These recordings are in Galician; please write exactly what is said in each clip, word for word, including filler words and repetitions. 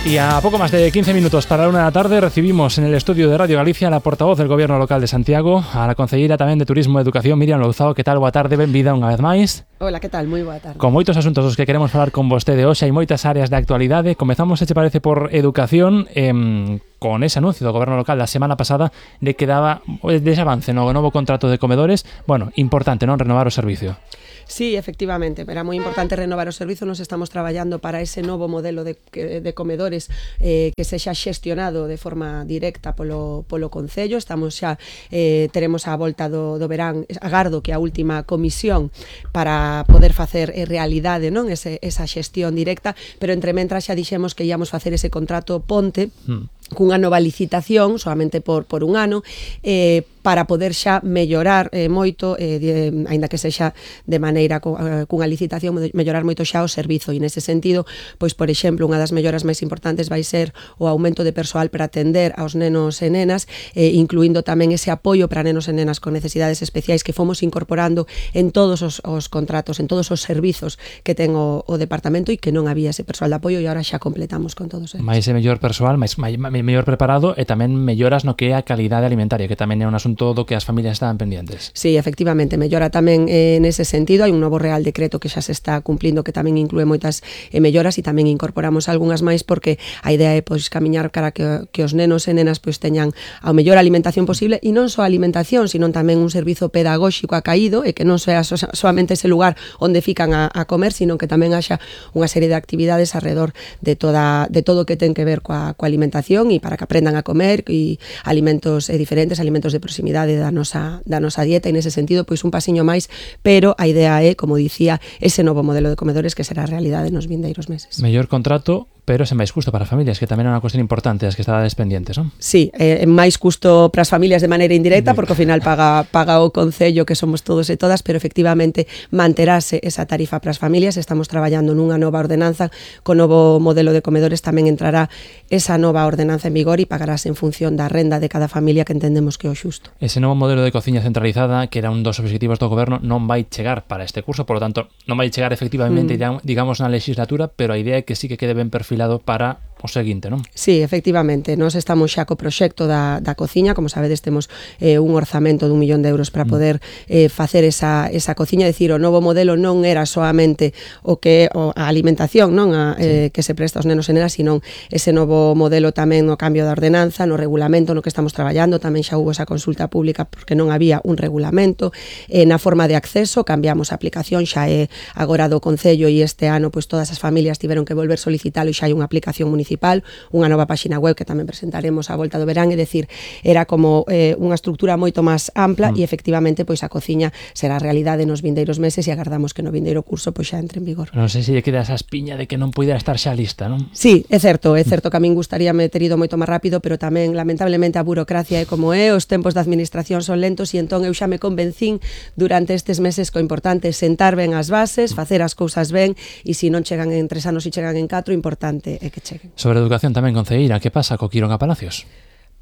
Y a poco más de quince minutos para la una de la tarde recibimos en el estudio de Radio Galicia a la portavoz del Gobierno Local de Santiago, a la concelleira tamén de Turismo e Educación, Miriam Louzao. Que tal? Boa tarde, benvida unha vez máis. Hola, que tal? Moi boa tarde. Con moitos asuntos dos que queremos falar con vostede hoxe, hai moitas áreas de actualidade. Comezamos, se che parece, por educación, eh, con ese anuncio do Goberno Local da semana pasada de que daba dese avance no novo contrato de comedores. Bueno, importante, non? Renovar o servicio. Sí, efectivamente, era moi importante renovar o servizo. Nos estamos traballando para ese novo modelo de, de comedores eh, que sexa xestionado de forma directa polo, polo Concello. Estamos xa, eh, teremos a volta do, do verán, agardo que a última comisión para poder facer eh, realidade, non, ese, esa xestión directa, pero entre mentras xa dixemos que íamos facer ese contrato ponte, mm. cunha nova licitación, solamente por, por un ano, eh, para poder xa mellorar eh, moito, eh, de, aínda que sexa de maneira co, eh, cunha licitación, mellorar moito xa o servizo. E nese sentido, pois, por exemplo, unha das melloras máis importantes vai ser o aumento de persoal para atender aos nenos e nenas, eh, incluindo tamén ese apoio para nenos e nenas con necesidades especiais que fomos incorporando en todos os, os contratos, en todos os servizos que ten o, o departamento, e que non había ese persoal de apoio, e agora xa completamos con todos eles. Mais e mellor persoal, máis, máis, mellor preparado, e tamén melloras no que é a calidade alimentaria, que tamén é un asunto do que as familias estaban pendientes. Sí, efectivamente, mellora tamén eh, nese sentido. Hai un novo Real Decreto que xa se está cumplindo, que tamén inclúe moitas eh, melloras, e tamén incorporamos algunhas máis, porque a idea é pois camiñar cara que, que os nenos e nenas pois teñan a mellor alimentación posible, e non só alimentación, sino tamén un servizo pedagóxico acaído, e que non sea so, solamente ese lugar onde fican a, a comer, sino que tamén haxa unha serie de actividades alrededor de toda de todo o que ten que ver coa, coa alimentación, e para que aprendan a comer e alimentos eh, diferentes, alimentos de proximidade da nosa, da nosa dieta, e nese sentido pois un pasiño máis, pero a idea é, como dicía, ese novo modelo de comedores que será realidade nos vindeiros meses. Mellor contrato, pero sen máis custo para as familias, que tamén é unha cuestión importante das que estades pendientes, non? Sí, é máis custo para as familias de maneira indirecta, porque ao final paga, paga o Concello, que somos todos e todas, pero efectivamente manterase esa tarifa para as familias. Estamos traballando nunha nova ordenanza, co novo modelo de comedores tamén entrará esa nova ordenanza en vigor e pagarase en función da renda de cada familia, que entendemos que é o xusto. Ese novo modelo de cociña centralizada, que era un dos objetivos do Goberno, non vai chegar para este curso, por lo tanto, non vai chegar efectivamente, mm. digamos, na legislatura, pero a idea é que sí que quede ben perfilado para o seguinte, non? Sí, efectivamente, nós estamos xa co proxecto da, da cociña. Como sabedes, temos eh, un orzamento dun millón de euros para poder eh, facer esa, esa cociña. É dicir, o novo modelo non era solamente o que o, a alimentación, non, a, eh, sí. que se presta aos nenos e nenas, sino ese novo modelo tamén no cambio da ordenanza, no regulamento no que estamos traballando. Tamén xa hubo esa consulta pública porque non había un regulamento. Eh, na forma de acceso, cambiamos a aplicación, xa é agora do Concello, e este ano pois todas as familias tiveron que volver solicitalo, e xa hai unha aplicación municipal, unha nova páxina web que tamén presentaremos a volta do verán. É dicir, era como eh, unha estrutura moito máis ampla, mm. e efectivamente pois a cociña será realidade nos vindeiros meses, e agardamos que no vindeiro curso pois xa entre en vigor. Non sei se lle queda esa espiña de que non puidera estar xa lista, non? Sí, é certo, é certo que a min gustaríame ter ido moito máis rápido, pero tamén lamentablemente a burocracia é como é, os tempos da administración son lentos, e entón eu xa me convencín durante estes meses que o importante é sentar ben as bases, facer as cousas ben, e se non chegan en tres anos e chegan en catro, o importante é que cheguen. Sobre educación tamén, concelleira, que pasa co Quiroga Palacios?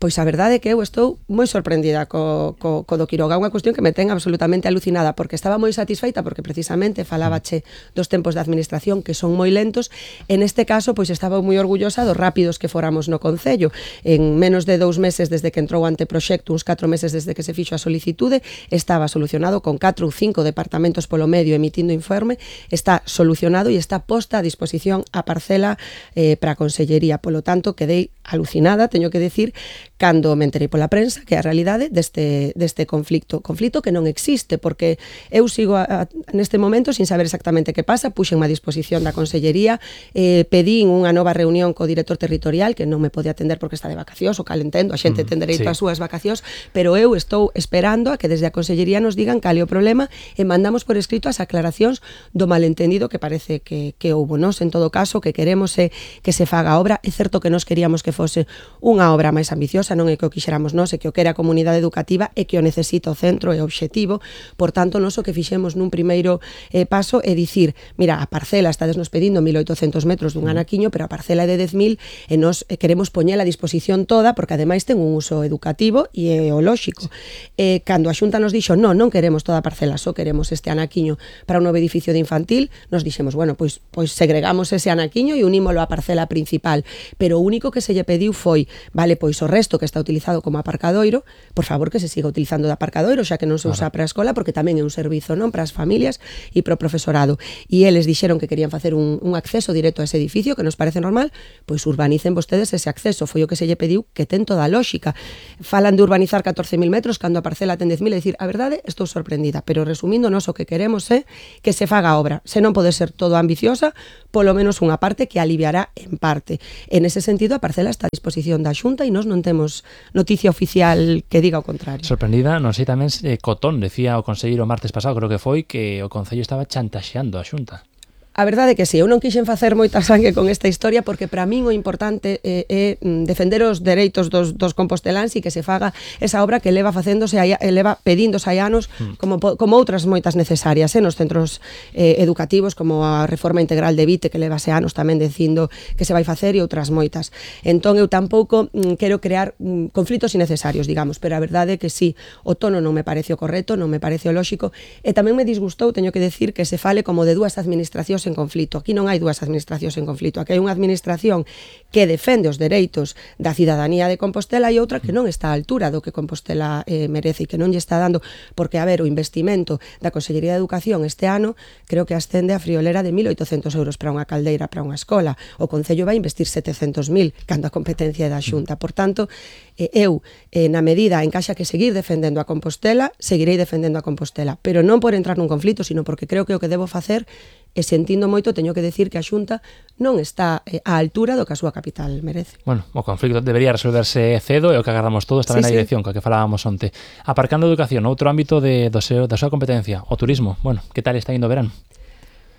Pois a verdade é que eu estou moi sorprendida co, co, co do Quiroga, unha cuestión que me ten absolutamente alucinada, porque estaba moi satisfeita, porque precisamente falábache dos tempos de administración que son moi lentos. En este caso, pois estaba moi orgullosa dos rápidos que foramos no Concello. En menos de dous meses desde que entrou o anteproxecto, uns catro meses desde que se fixo a solicitude, estaba solucionado, con catro ou cinco departamentos polo medio emitindo informe, está solucionado e está posta a disposición a parcela eh, para a Consellería. Polo tanto, quedei alucinada, teño que decir, cando me enterei pola prensa que a realidade deste, deste conflicto, conflicto que non existe, porque eu sigo a, a, neste momento sin saber exactamente que pasa. Puxen a disposición da Consellería, eh, pedín unha nova reunión co director territorial, que non me pode atender porque está de vacacións, o cal entendo, a xente ten dereito ás súas vacacións, pero eu estou esperando a que desde a Consellería nos digan cal é o problema, e mandamos por escrito as aclaracións do malentendido que parece que, que houbo. Nos, en todo caso, que queremos é que se faga a obra. É certo que nos queríamos que que fose unha obra máis ambiciosa, non é que o quixéramos nós, é que o que era a comunidade educativa e que o necesita o centro e o obxectivo. Por tanto, nós o que fixemos nun primeiro eh, paso é dicir, mira, a parcela, estades nos pedindo mil oitocentos metros dun anaquiño, pero a parcela é de dez mil e nós eh, queremos poñela a disposición toda porque ademais ten un uso educativo e eolóxico. Eh, cando a Xunta nos dixo, non, non queremos toda a parcela, só queremos este anaquiño para un novo edificio de infantil, nos dixemos, bueno, pois, pois segregamos ese anaquiño e unímolo á parcela principal, pero o único que se lle pediu foi, vale, pois o resto que está utilizado como aparcadoiro, por favor que se siga utilizando de aparcadoiro, xa que non se usa para a escola, porque tamén é un servizo, non, para as familias e para o profesorado. E eles dixeron que querían facer un, un acceso directo a ese edificio, que nos parece normal, pois urbanicen vostedes ese acceso, foi o que se lle pediu, que ten toda a lógica. Falan de urbanizar catorce mil metros cando a parcela ten dez mil, é dicir, a verdade, estou sorprendida, pero resumindo, nós o que queremos é que se faga a obra. Se non pode ser todo ambiciosa, polo menos unha parte que aliviará en parte. En ese sentido, a parcela está a disposición da Xunta e nós non temos noticia oficial que diga o contrario. Sorprendida, non sei tamén eh, Cotón, decía o conselleiro martes pasado, creo que foi, que o Concello estaba chantaxeando a Xunta. A verdade é que si, eu non quixen facer moita sangue con esta historia porque para min o importante é, é defender os dereitos dos, dos composteláns e que se faga esa obra que leva facéndose, leva pedíndose hai anos como, como outras moitas necesarias eh, nos centros eh, educativos, como a reforma integral de Vite que levase anos tamén dicindo que se vai facer e outras moitas. Entón eu tampouco mm, quero crear mm, conflitos innecesarios, digamos, pero a verdade é que si, o tono non me parece o correcto, non me parece o lóxico e tamén me disgustou, teño que decir, que se fale como de dúas administracións en conflito. Aquí non hai dúas administracións en conflito. Aquí hai unha administración que defende os dereitos da cidadanía de Compostela e outra que non está á altura do que Compostela eh, merece e que non lle está dando, porque, a ver, o investimento da Consellería de Educación este ano creo que ascende a friolera de mil oitocentos euros para unha caldeira, para unha escola. O Concello vai investir setecentos mil cando a competencia é da Xunta. Por tanto, eh, eu, eh, na medida en que haxa que seguir defendendo a Compostela, seguirei defendendo a Compostela, pero non por entrar nun conflito, sino porque creo que o que debo facer e sentindo moito, teño que decir que a Xunta non está eh, á altura do que a súa capital merece. Bueno, o conflicto debería resolverse cedo e o que agardamos todos tamén sí, na dirección, sí. Co que falábamos onte. Aparcando a educación, outro ámbito de, do seu, da súa competencia, o turismo. Bueno, que tal está indo o verán?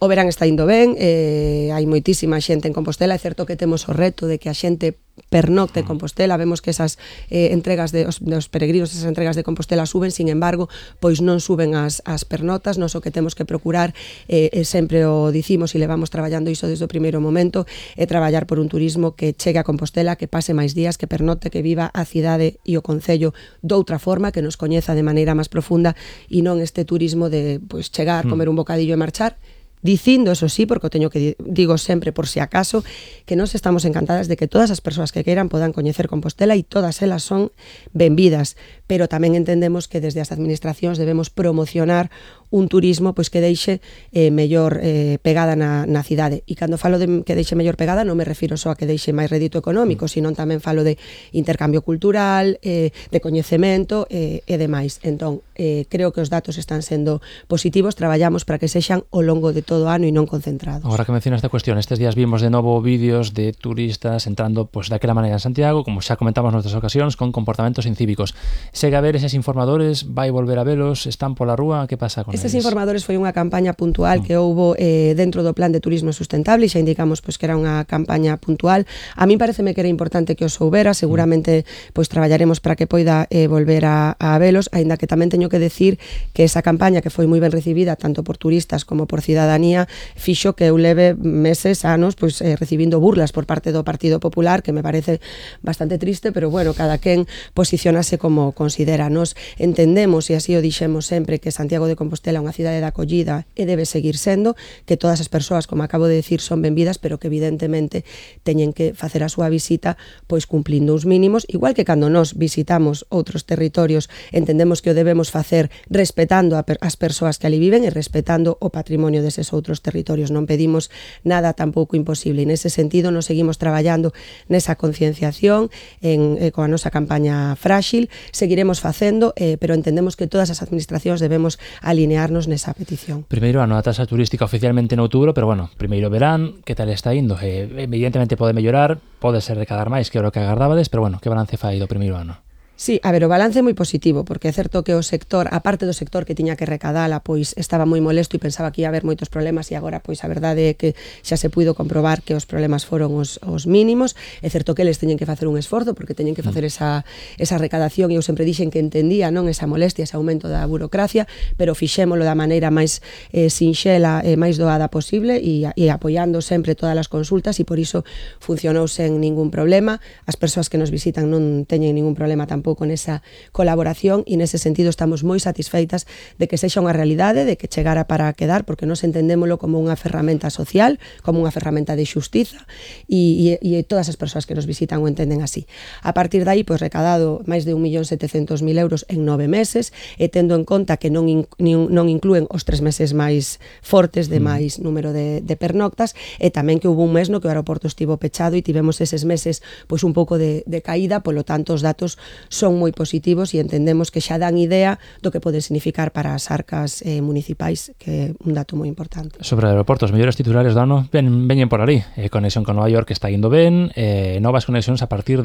O verán está indo ben, eh, hai moitísima xente en Compostela, é certo que temos o reto de que a xente pernocte en Compostela, vemos que esas eh, entregas de os, de os peregrinos, esas entregas de Compostela suben, sin embargo, pois non suben as, as pernotas, nos o que temos que procurar, eh, eh, sempre o dicimos e levamos traballando iso desde o primeiro momento, é traballar por un turismo que chegue a Compostela, que pase máis días, que pernote, que viva a cidade e o concello doutra forma, que nos coñeza de maneira máis profunda e non este turismo de pois chegar, comer un bocadillo e marchar, dicindo, eso sí, porque o teño que digo sempre por si acaso, que nós estamos encantadas de que todas as persoas que queiran podan coñecer Compostela e todas elas son benvidas, pero tamén entendemos que desde as administracións debemos promocionar un turismo pois que deixe eh, mellor eh, pegada na, na cidade. E cando falo de que deixe mellor pegada non me refiro só a que deixe máis rédito económico, sino tamén falo de intercambio cultural, eh, de coñecemento eh, e demais. Entón, eh, creo que os datos están sendo positivos, traballamos para que sexan ao longo de todo o ano e non concentrados. Agora que mencionas esta cuestión, estes días vimos de novo vídeos de turistas entrando pois daquela maneira en Santiago, como xa comentamos noutras ocasións, con comportamentos incívicos. Segue a ver eses informadores, vai volver a velos, están pola rúa, que pasa con eles? Estes informadores foi unha campaña puntual que houbo eh, dentro do Plan de Turismo Sustentable e xa indicamos pois que era unha campaña puntual. A min pareceme que era importante que os soubera, seguramente pois traballaremos para que poida eh, volver a, a velos, aínda que tamén teño que decir que esa campaña que foi moi ben recibida tanto por turistas como por cidadanía fixo que eu leve meses, anos pois eh, recibindo burlas por parte do Partido Popular, que me parece bastante triste, pero bueno, cada quen posicionase como considera. Nos entendemos, e así o dixemos sempre, que Santiago de Compostela é unha cidade de acollida e debe seguir sendo, que todas as persoas, como acabo de decir, son benvidas, pero que evidentemente teñen que facer a súa visita pois cumplindo uns mínimos, igual que cando nos visitamos outros territorios, entendemos que o debemos facer respetando a per as persoas que ali viven e respetando o patrimonio deses outros territorios. Non pedimos nada tampouco imposible, e nese sentido nos seguimos traballando nesa concienciación en, eh, coa nosa campaña frágil, seguiremos facendo, eh, pero entendemos que todas as administracións debemos alinearnos nesa petición. Primeiro ano a taxa turística oficialmente en outubro, pero bueno, primeiro verán, que tal está indo? Eh, evidentemente pode mellorar, pode ser recadar máis que o que agardabades, pero bueno, que balance fai do primeiro ano? Sí, a ver, o balance é moi positivo, porque é certo que o sector, a parte do sector que tiña que recadala, pois estaba moi molesto e pensaba que ia haber moitos problemas e agora, pois a verdade é que xa se puido comprobar que os problemas foron os, os mínimos. É certo que eles teñen que facer un esforzo porque teñen que facer esa, esa recadación e eu sempre dixen que entendía non esa molestia, ese aumento da burocracia, pero fixémolo da maneira máis eh, sinxela e máis doada posible e, e apoiando sempre todas as consultas e por iso funcionou sen ningún problema. As persoas que nos visitan non teñen ningún problema tampouco nesa colaboración e nese sentido estamos moi satisfeitas de que sexa unha realidade, de que chegara para quedar, porque nos entendémolo como unha ferramenta social, como unha ferramenta de xustiza e, e, e todas as persoas que nos visitan o entenden así. A partir de aí, pois recadado máis de un millón setecentos mil euros en nove meses e tendo en conta que non, in, non inclúen os tres meses máis fortes de máis número de, de pernoctas e tamén que hubo un mes no que o aeroporto estivo pechado e tivemos eses meses pois un pouco de, de caída, polo tanto os datos son moi positivos e entendemos que xa dan idea do que pode significar para as arcas eh, municipais, que é un dato moi importante. Sobre aeroportos, mellores titulares do ano ven, veñen por ali. Eh, conexión con Nova York está indo ben, eh, novas conexións a partir